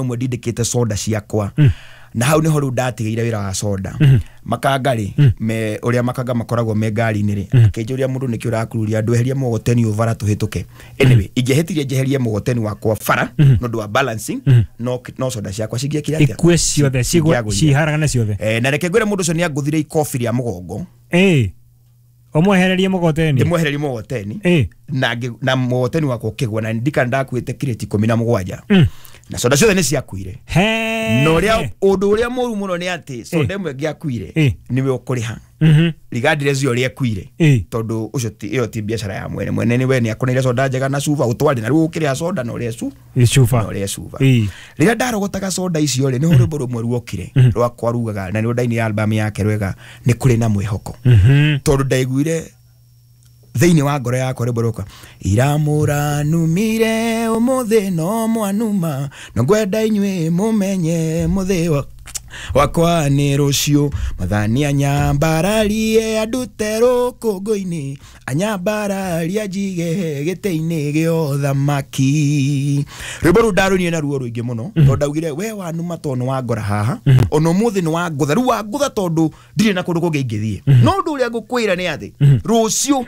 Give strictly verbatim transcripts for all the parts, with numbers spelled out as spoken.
Ũmwe ndindĩkĩte soda ciakwa na hau nĩho rĩu ndatigĩire wĩra wa soda. Makanga rĩ, me ũrĩa makanga makoragwo me ngari-inĩ rĩ, akĩnjũria, "Mũndũ, nĩkĩ ũrakururia andũ? Eheria mũgoteni ũyũ bara tũhĩtũke." Anyway, ingĩahĩtirie njeherie mũgoteni wakwa bara nĩ ũndũ wa balancing, no no soda ciakwa cingĩekire atĩa? Ikue ciothe, cigwe. Cingĩagũire. Ciharagane ciothe. Eh, na reke ngwĩre, mũndũ ũcio nĩ angũthire ikobi rĩa mũgongo. Ĩ, ũmwehererie mũgoteni? Ndĩmwehererie mũgoteni. Ĩ. Na ngĩ- na mũgoteni wakwa ũkĩgwa, na ndikana ndakuĩte kirĩti ikũmi na mũgwanja Mm. na soda ciothe nĩ ciakuire. He. Na ũrĩa ũndũ ũrĩa mũru mũno nĩ atĩ soda ĩmwe ĩngĩakuire, Ĩ. nĩwe ũkũrĩha Mhm. regardless ya ũrĩa ĩkuire, Ĩ. tondũ ũcio ti ĩyo ti biacara ya mwene. Mwene nĩ we nĩ akũneire soda njega na cuba ũtware, na rĩu ũkĩrĩha soda na ũrĩa cu Ĩ, cuba. Na ũrĩa cuba. Ĩ. Rĩrĩa ndarogotaga soda icio rĩ, nĩho rwĩmbo rũmwe ruokire rwakwa rugaga, na nĩ ndaini album yake rwega, "Nĩ kũrĩ na mwĩhoko," Mhm. tondũ ndaiguire thĩinĩ wa ngoro yakwa rwĩmbo rũka, "Iramũranumire ũmũthĩ no mwanuma, no ngwenda inyuĩ mũmenye mũthĩ wa wakwa nĩ rũciũ. Mathani anyambararie andute rũkũngũ-inĩ, anyambararie anjige gĩtĩ-inĩ gĩa ũthamaki." Rwĩmbo rũu ndarũinire na ruo rũingĩ mũno, tondũ ndaugire, "We wanuma tondũ nĩ wangora haha, ona ũmũthĩ nĩ wangũtha, rĩu wangũtha tondũ ndirĩ na kũndũ kũngĩ ingĩthiĩ. No ũndũ ũrĩa ngũkwĩra nĩ atĩ rũciũ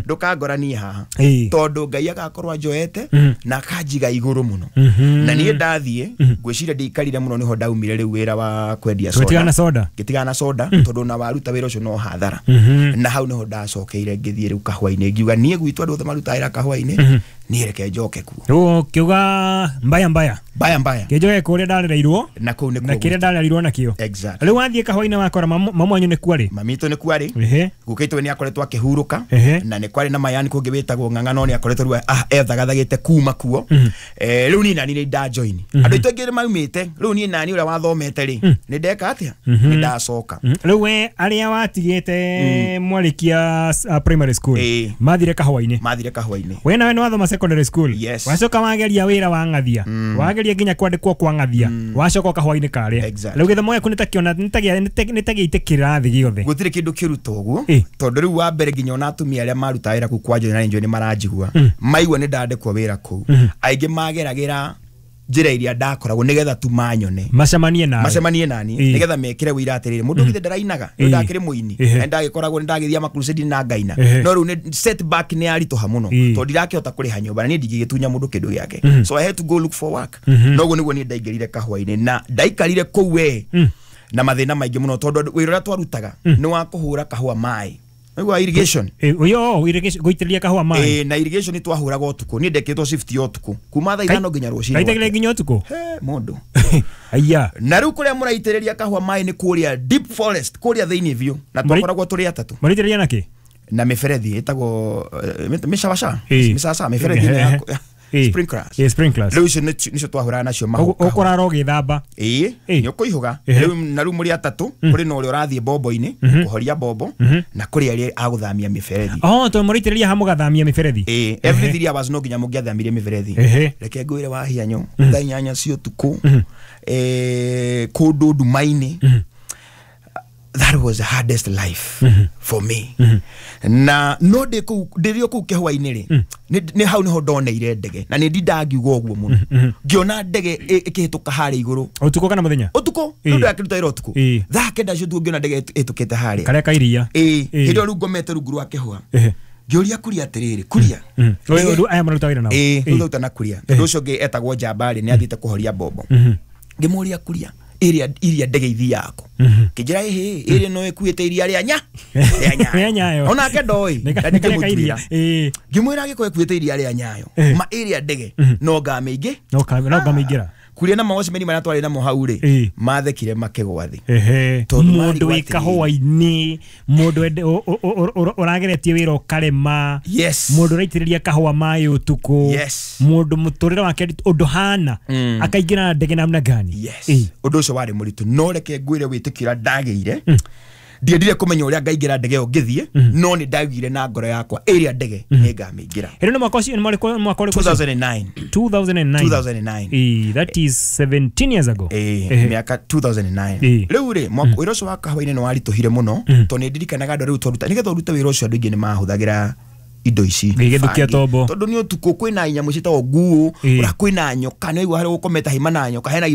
ndũkangora niĩ haha, Ĩ. tondũ Ngai agakorwo anjoete na akanjiga igũrũ mũno." Mhm. Na niĩ ndathiĩ, ngwĩciria ndiikarire mũno, nĩho ndaumire rĩu wĩra wa kwendia Tũgĩtigana na soda. Ngĩtigana na soda, tondũ ona waruta wĩra ũcio no hathara. Mhm. Na hau nĩho ndacokeire ngĩthiĩ rĩu kahũa-inĩ, ngiuga niĩ gwitũ andũ othe marutaga wĩra kahũa-inĩ, niĩ reke njoke kuo. Rĩu ũkiuga mbaya mbaya. Mbaya mbaya. Kĩnjoke kũrĩa ndarereirwo. Na kũu Na nĩkuo kĩrĩa gwitũ. ndarereirwo nakĩo. Exactly. Rĩu wathiĩ kahũa-inĩ wakora mamu mamu wanyu nĩ kuarĩ? Mamitũ nĩ kwarĩ. Ehe. Gũkĩtwo nĩ akoretwo akĩhurũka. Ehe. Na nĩ kwarĩ na mayani kũngĩ wĩtagwo Ng'ang'a, no nĩ akoretwo rĩu ah, ethagathagĩte kuma kuo. Eh, rĩu niĩ nani nĩ ndajoin, andũ aitũ aingĩ nĩ maumĩte. Rĩu niĩ nani ũrĩa wathomete rĩ, nĩ ndeka atĩa? Nĩ ndacoka. Mhm. Rĩu we arĩa watigĩte mwarĩkia uh, primary school Ĩĩ. mathire kahũa-inĩ? Mathire kahũa-inĩ. We nawe nĩ wathoma secondary school? Yes. Wacoka wageria wĩra wa ng'athia, wageria nginya kwandĩkwo kwa ng'athia, wacoka kahũa-inĩ karĩa. Exactly. Rĩu gĩthomo gĩaku nĩtakĩona nĩ ta gĩite kĩrathi gĩothe. Gũtirĩ kĩndũ kĩruta ũguo, Ĩ. tondũ rĩu wa mbere nginya ona atumia arĩa marutaga wĩra kũu kwa Njũĩ na nĩ njũĩ nĩ maranjigua, maigua nĩ ndandĩkwo wĩra kũu, aingĩ mageragĩra njĩra iria ndakoragwo nĩgetha tu manyone. Macemanie nawe. Macemanie nani, Ĩ. nĩgetha mekĩre wĩira atĩrĩrĩ, mũndũ githĩ ndarainaga? Ĩ. Nĩ ndakĩrĩ mũini. Ehe. Na ndagĩkoragwo nĩ ndagĩthiĩ makrusedi na ngaina. Ehe. No rĩu nĩ setback, nĩ yaritũha mũno, Ĩ. tondũ ndirakĩhota kũrĩha nyũmba na niĩ ndingĩgĩtunya mũndũ kĩndũ gĩake, so I had to go look for work. Noguo nĩguo niĩ ndaingĩrire kahũa-inĩ na ndaikarire kũu we na mathĩna maingĩ mũno, tondũ andũ- wĩra ũrĩa twarutaga nĩ wa kũhũra kahũa maĩ. Nĩguo irrigation. Ĩ, ũyũ irrigation, gũitĩrĩria kahũa maĩ. Ĩ, na irrigation twahũraga ũtukũ. Niĩ ndekĩtwo shift ya ũtukũ kuma thaa ithano nginya rũcinĩ. Kaitagĩrĩria nginya ũtukũ? He, mũndũ. Aya. Na rĩu kũrĩa mũraitĩrĩria kahũa maĩ nĩ kũrĩa deep forest, kũrĩa thĩinĩ biũ, na Mũri- twakoragwo tũrĩ atatũ. Mũraitĩrĩria nakĩ? Na mĩberethi ĩtagwo eh, mĩcabaca, Ĩ. mĩcaca, mĩberethi ĩno ya Ĩ. sprinklers. Ĩ, sprinklers. Rĩu icio nĩcio nĩcio twahũraga nacio mahu- kahũa. Ũkũrara ũgĩthamba? Ĩĩ. Ĩ. Nĩ ũkũihũga. Ehe. Rĩu na rĩu mũrĩ atatũ, kũrĩ na ũrĩa ũrathiĩ bombo-inĩ kũhoria bombo, na kũrĩ arĩa agũthamia mĩberethi. Oh, tondũ mũraitĩrĩria ha mũgathamia mĩberethi. Ĩĩ, every three hours no nginya mũngĩathamirie mĩberethi. Ehe. Reke ngwĩre, wahianyo, thaa inyanya cia ũtukũ, eh, kũndũ nduma-inĩ, that was the hardest life for me. Na no ndĩ kũu, ndĩrĩ o kũu kĩhũa-inĩ rĩ, nĩ nĩ hau nĩho ndoneire ndege, na nĩ ndindaga ngiuga ũguo mũno, ngĩona ndege ĩ- ĩkĩhĩtũka harĩa igũrũ. Ũtukũ kana mũthenya? Ũtukũ. Ĩ. Rĩu ndakĩruta wĩra ũtukũ. Ĩ. Thaa kenda cia ũtukũ ngĩona ndege ĩhĩtũkĩte harĩa. Karĩa ka iria? Ĩ. Ĩ. Hĩndĩ ĩyo rĩu ngomete rungu rwa kĩhũa, Ehe. ngĩũria kuria atĩrĩrĩ, "Kuria." Mhm. Ũyũ- ũyũ- aya maruta wĩra nao? Ĩ. Ĩ. Rĩu thauta kuria, tondũ ũcio ũngĩ etagwo njambarĩ nĩ athiĩte kũhoria mbombo. Ngĩmũria, "Kuria, ĩrĩa iria ndege ithiaga kũ?" Kĩnjĩra, "Ĩhĩ, ĩrĩa no ĩkuĩte iria rĩa nya rĩa Rĩa Nyayo." Onake ndoĩ. Nĩ ka- Na nĩ karĩa ka iria. ndingĩmũtuĩra. Ĩ. Ngĩmwĩra, "Angĩkorwo ĩkuĩte iria rĩa Nyayo, Eh. ma ĩrĩa ndege no ngamĩingĩ?" No ka- no ngamĩingĩra. Kuria na mawacimeni marĩa twarĩ namo hau rĩ, Ĩ. mathekire makĩgwa thĩ. Ehe. Tondũ Mũndũ marigwo wĩ atĩrĩrĩ. kahũa-inĩ, mũndũ ende- ũ- ũ- ũ- ũ- ũrageretie wĩra ũkarema, Yes. mũndũ ũraitĩrĩria kahũa maĩ ũtukũ, Yes. mũndũ mũtũrĩre wake ũndũ hana, akaingĩra ndege namna gani? Yes. Ĩ. Ũndũ ũcio warĩ mũritũ, no reke ngwĩre, wĩtĩkio ũrĩa ndagĩire, ndiendire kũmenya ũrĩa ngaingĩra ndege ĩyo ngĩthiĩ, no nĩ ndaugire na ngoro yakwa ĩrĩa ndege nĩ ngamĩingĩra. Ĩrĩ nĩ mwaka ũcio, nĩ mwaka mwaka ũrĩkũ ũcio? two thousand and nine. two thousand and nine. two thousand and nine. Ĩ, that is seventeen years ago. Ĩĩ, Ehe. mĩaka two thousand and nine. Ĩĩ. Rĩu rĩ, mwaka wĩra ũcio wa kahũa-inĩ nĩ waritũhire mũno, tondũ nĩ ndirikanaga andũ rĩu twaruta, nĩgetha ũrute wĩra ũcio, andũ aingĩ nĩ mahũthagĩra Indo ici Gĩgĩthũkia bangi. tombo. Tondũ nĩ ũtukũ, kwĩna nyamũ ciĩtagwo nguũ. Ĩĩ. Ũrĩa kwĩna nyoka, nĩ waigua harĩa gũkomete haima na nyoka, hena